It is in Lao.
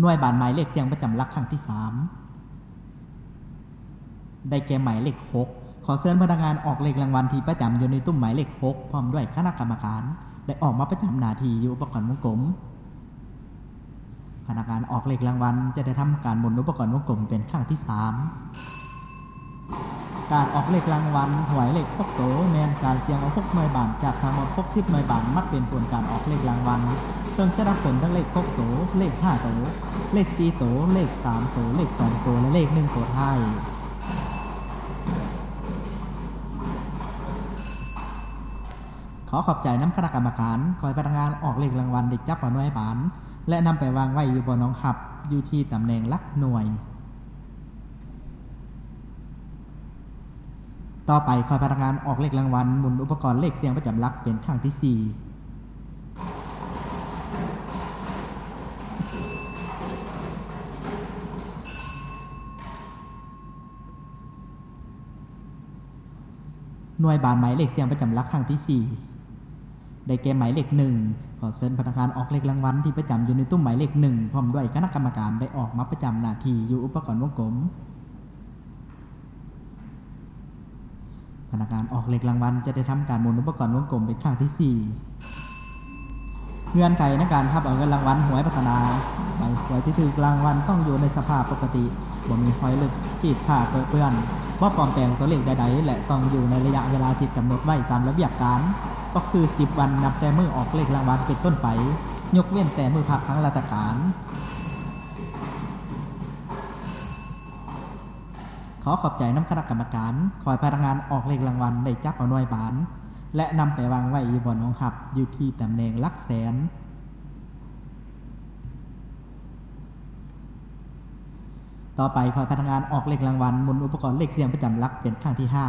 ໜ່ວຍບານໝາຍເລກສ່ຽງປະຈຳຫຼັກຄັ້ງທີສາມ ໄດ້ແກ່ໝາຍເລກຫົກ. ຂໍເຊີນພະນັກງານອອກເລກລາງວັນທີ່ປະຈຳຢູ່ໃນຕຸ້ມໝາຍເລກຫົກ ພ້ອມດ້ວຍຄະນະກຳມະການ ໄດ້ອອກມາປະຈຳໜ້າທີ່ຢູ່ອຸປະກອນວົງກົມ. ພະນັກງານອອກເລກລາງວັນຈະໄດ້ທຳການໝູນອຸປະກອນວົງກົມເປັນຄັ້ງທີສາມ. ການອອກເລກລາງວັນຫວຍເລກຫົກໂຕ ແມ່ນການສ່ຽງເອົາຫົກໜ່ວຍບານຈາກທັງໝົດຫົກສິບໜ່ວຍບານ ມາເປັນຜົນການອອກເລກລາງວັນ, ເຊິ່ງຈະນັບເປັນທັງເລກຫົກໂຕ, ເລກຫ້າໂຕ, ເລກສີ່ໂຕ, ເລກສາມໂຕ, ເລກສອງໂຕ ແລະ ເລກໜຶ່ງໂຕທ້າຍ. ຂໍຂອບໃຈນຳຄະນະກຳມະການ. ຂໍໃຫ້ພະນັກງານອອກເລກລາງວັນໄດ້ຈັບເອົາໜ່ວຍບານ ແລະ ນຳໄປວາງໄວ້ຢູ່ບ່ອນຮອງຮັບ ຢູ່ທີ່ຕຳແໜ່ງຫຼັກໜ່ວຍ. ຕໍ່ໄປ, ຂໍໃຫ້ພະນັກງານອອກເລກລາງວັນໝູນອຸປະກອນເລກສ່ຽງປະຈຳຫຼັກເປັນຄັ້ງທີສີ່. ໜ່ວຍບານໝາຍເລກສ່ຽງປະຈຳຫຼັກຄັ້ງທີສີ່ ໄດ້ແກ່ໝາຍເລກໜຶ່ງ. ຂໍເຊີນພະນັກງານອອກເລກລາງວັນທີ່ປະຈຳຢູ່ໃນຕຸ້ມໝາຍເລກໜຶ່ງ ພ້ອມດ້ວຍຄະນະກຳມະການ ໄດ້ອອກມາປະຈຳໜ້າທີ່ຢູ່ອຸປະກອນວົງກົມ. ພະນັກງານອອກເລກລາງວັນຈະໄດ້ທຳການໝູນອຸປະກອນວົງກົມເປັນຄັ້ງທີສີ່. ເງື່ອນໄຂໃນການຮັບເອົາເງິນລາງວັນຫວຍພັດທະນາ ໃບຫວຍທີ່ຖືກລາງວັນຕ້ອງຢູ່ໃນສະພາບປົກກະຕິ, ບໍ່ມີຮອຍລຶກ, ຂີດຂາດ, ເປິເປື້ອນ, ບໍ່ປອມແປງຕົວເລກໃດໆ ແລະ ຕ້ອງຢູ່ໃນໄລຍະເວລາທີ່ກຳນົດໄວ້ຕາມລະບຽບການ, ກໍຄືສິບວັນນັບແຕ່ມື້ອອກເລກລາງວັນເປັນຕົ້ນໄປ, ຍົກເວັ້ນແຕ່ມື້ພັກທາງລາຊະການ. ຂໍຂອບໃຈນຳຄະນະກຳມະການ. ຂໍໃຫ້ພະນັກງານອອກເລກລາງວັນໄດ້ຈັບເອົາໜ່ວຍບານ ແລະ ນຳໄປວາງໄວ້ຢູ່ບ່ອນຮອງຮັບ ຢູ່ທີ່ຕຳແໜ່ງຫຼັກແສນ. ຕໍ່ໄປ, ຂໍໃຫ້ພະນັກງານອອກເລກລາງວັນໝູນອຸປະກອນເລກສ່ຽງປະຈຳຫຼັກເປັນຄັ້ງທີຫ້າ.